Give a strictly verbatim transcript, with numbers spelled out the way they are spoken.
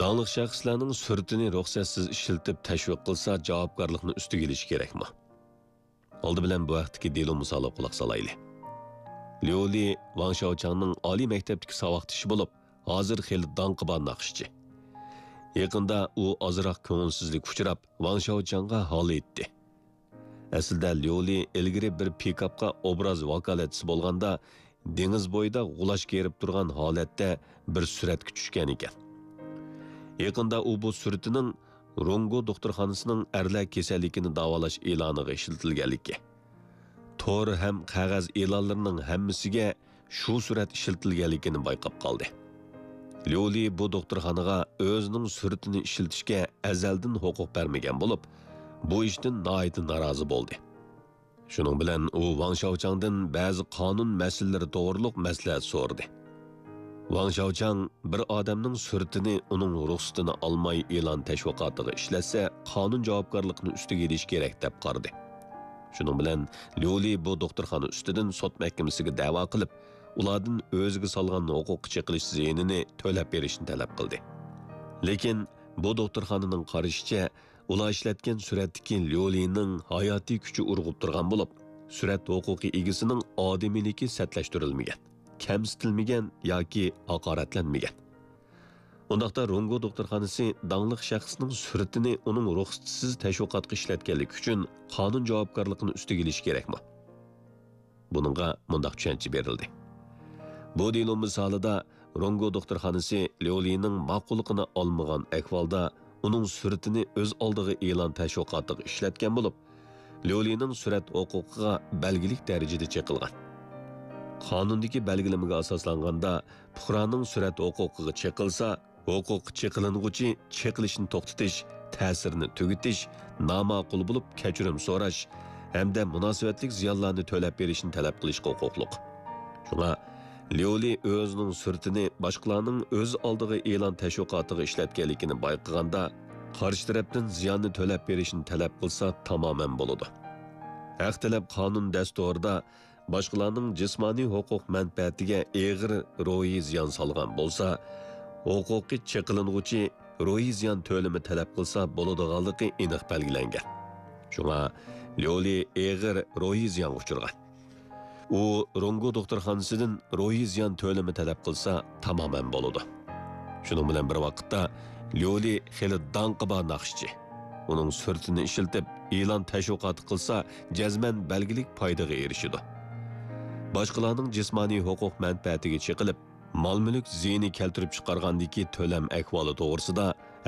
داڭلىق شەخسلەرنىڭ سۈرىتىنى رۇخسەتسىز ئىشلىتىپ تەشۋىق قىلسا، جاۋابكارلىقنى ئۈستىگە ئېلىشى كېرەكمۇ؟ ئالدى بىلەن بۇ ھەقتىكى دېلو مىسالىغا قۇلاق سالايلى. ليۇ لى ۋاڭ شياۋچاڭنىڭ ئالىي مەكتەپتىكى ساۋاقدىشى بولۇپ، ھازىر خېلى داڭقى بار ناخشىچى. يېقىندا ئۇ ئازراق كۆڭۈلسىزلىككە ئۇچراپ، ۋاڭ شياۋچاڭغا ھال ئېيتتى. ئەسلىدە ليۇ لى ئىلگىرى بىر پىكاپقا ئوبراز ۋاكالەتچىسى بولغاندا، دېڭىز بويىدا غۇلاچ كېرىپ تۇرغان ھالەتتە بىر سۈرەتكە چۈشكەن ئىكەن. يېقىندا ئۇ بۇ سۈرىتىنىڭ رونگو دوختۇرخانىسىنىڭ ئەرلەر كېسەللىكىنى داۋالاش ئېلانىغا ئىشلىتىلگەنلىكى، تور ھەم قەغەز ئېلانلىرىنىڭ ھەممىسىگە شۇ سۈرەت ئىشلىتىلگەنلىكىنى بايقاپ قالدى. ليۇ لى بۇ دوختۇرخانىغا ئۆزىنىڭ سۈرىتىنى ئىشلىتىشكە ئەزەلدىن ھوقۇق بەرمىگەن بولۇپ، بۇ ئىشتىن ناھايىتى نارازى بولدى. شۇنىڭ بىلەن ئۇ ۋاڭ شياۋچاڭدىن بەزى قانۇن مەسىلىلىرى توغرۇلۇق مەسلىھەت سورىدى. ۋاڭ شياۋچاڭ بىر ئادەمنىڭ سۈرىتىنى ئۇنىڭ رۇخسىتىنى ئالماي ئېلان تەشۋىقاتىغا ئىشلەتسە، قانۇن جاۋابكارلىقىنى ئۈستىگە ئېلىشى كېرەك، دەپ قارىدى. شۇنىڭ بىلەن ليۇ لى بۇ دوختۇرخانا ئۈستىدىن سوت مەھكىمىسىگە دەۋا قىلىپ، ئۇلاردىن ئۆزىگە سالغان ھوقۇققا چېقىلىش زىيىنىنى تۆلەپ بېرىشنى تەلەپ قىلدى. لېكىن بۇ دوختۇرخانىنىڭ قارىشىچە، ئۇلار ئىشلەتكەن سۈرەتتىكى ليۇ لىنىڭ ھاياتىي كۈچى ئۇرغۇپ تۇرغان بولۇپ، سۈرەت ھوقۇقى ئىگىسىنىڭ ئادىمىيلىكى سەتلەشتۈرۈلمىگەن، كەمسىتىلمىگەن ياكى ھاقارەتلەنمىگەن. ئۇنداقتا رونگو دوختۇرخانىسى داڭلىق شەخسنىڭ سۈرىتىنى ئۇنىڭ رۇخسىتىسىز تەشۋىقاتقا ئىشلەتكەنلىكى ئۈچۈن قانۇن جاۋابكارلىقىنى ئۈستىگە ئېلىشى كېرەكمۇ؟ بۇنىڭغا مۇنداق چۈشەنچە بېرىلدى. بۇ دېلو مىسالىدا رونگو دوختۇرخانىسى ليۇ لىنىڭ ماقۇللۇقىنى ئالمىغان ئەھۋالدا ئۇنىڭ سۈرىتىنى ئۆز ئالدىغا ئېلان تەشۋىقاتىغا ئىشلەتكەن بولۇپ، ليۇ لىنىڭ سۈرەت ھوقۇقىغا بەلگىلىك دەرىجىدە چېقىلغان. قانۇندىكى بەلگىلىمىگە ئاساسلانغاندا، پۇقرانىڭ سۈرەت ھوقۇقىغا چېقىلسا، ھوقۇققا چېقىلىنغۇچى چېقىلىشنى توختىتىش، تەسىرىنى تۈگىتىش، ناماقۇل بولۇپ كەچۈرۈم سوراش ھەمدە مۇناسىۋەتلىك زىيانلارنى تۆلەپ بېرىشنى تەلەپ قىلىشقا ھوقۇقلۇق. شۇڭا ليۇ لى ئۆزىنىڭ سۈرىتىنى باشقىلارنىڭ ئۆز ئالدىغا ئېلان تەشۋىقاتىغا ئىشلەتكەنلىكىنى بايقىغاندا، قارشى تەرەپتىن زىياننى تۆلەپ بېرىشنى تەلەپ قىلسا تامامەن بولىدۇ. ھەق تەلەپ قانۇن دەستۇرىدا باشقىلارنىڭ جىسمانىي ھوقۇق مەنپەئەتىگە ئېغىر روھىي زىيان سالغان بولسا، ھوقۇقى چېقىلىنغۇچى روھىي زىيان تۆلىمى تەلەپ قىلسا بولىدىغانلىقى ئېنىق بەلگىلەنگەن. شۇڭا ليۇ لى ئېغىر روھىي زىيانغا ئۇچرىغان. ئۇ رونگو دوختۇرخانىسىدىن روھىي زىيان تۆلىمى تەلەپ قىلسا تامامەن بولىدۇ. شۇنىڭ بىلەن بىر ۋاقىتتا، ليۇ لى خېلى داڭقى بار ناخشىچى. ئۇنىڭ سۈرىتىنى ئىشلىتىپ، ئېلان تەشۋىقاتى قىلسا، جەزمەن بەلگىلىك پايدىغا ئېرىشىدۇ. باشقىلارنىڭ جىسمانىي ھوقۇق مەنپەئەتىگە چېقىلىپ، مال-مۈلۈك زىيىنى كەلتۈرۈپ چىقارغاندىكى تۆلەم ئەھۋالى توغرىسىدا